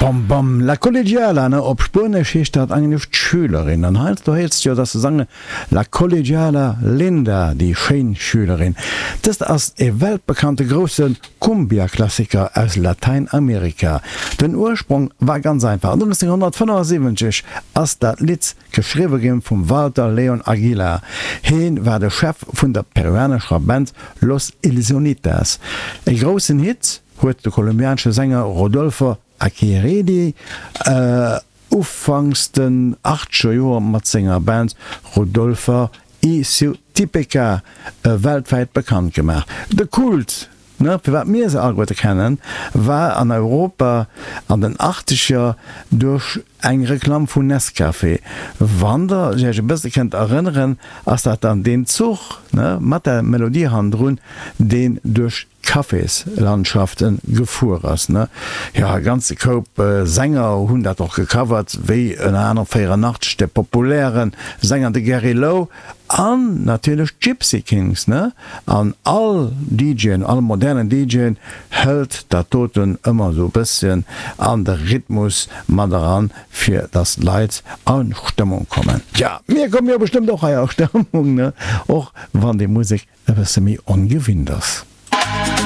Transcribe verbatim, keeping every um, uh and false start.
Bam bam, La Collegiala, ne, op Spuenesch heescht dat eigentlech d'Schülerin. An heiansdo héiers de jo, dass se sange La Collegiala Linda, déi schéin Schülerin. Dëst ass e weltbekannte grousse Cumbia-Klassiker aus Latäinamerika. Den Ursprong war ganz einfach, nonzénghonnertfënnefasiwwenzeg ass dat Lidd geschriwwe ginn vum Walter Leon Aguilar. Heen war de Chef vun der peruanescher Band Los Illusionitas. E groussen Hit huet de kolumbianesche Sänger Rodolfo Aquiredi ufanks den achtzeger Joer mat senger Band Rodolfo y su Típica weltwäit bekannt gemaach. De Kult, ne, firwat mir se alleguerte kennen, war an Europa an den Achtzeger duerch eng Reklamm vun Nescafé. Wann der iech e bësse kënnt erënneren, ass dat dann deen Zuch, ne, mat der Melodie hannendrun, deen duerch d'Caféslandschaften gefuer ass, ne. Jo, e ganze Koup Sänger hunn dat och gecovert, wéi ënner anerem véierannachtzeg de populäre Sänger de Gary Lowe an natierlech d'Gypsy Kings, ne. An all DJen, all modernen DJen hëlt dat doten ëmmer esou e bësschen an de Rhythmus mat eran, fir dass d'Leit a Stëmmung kommen. Tja, mir komme jo bestëmmt och hei a Stëmmung, ne, och wann déi Musek e bësse méi ongewinnt ass.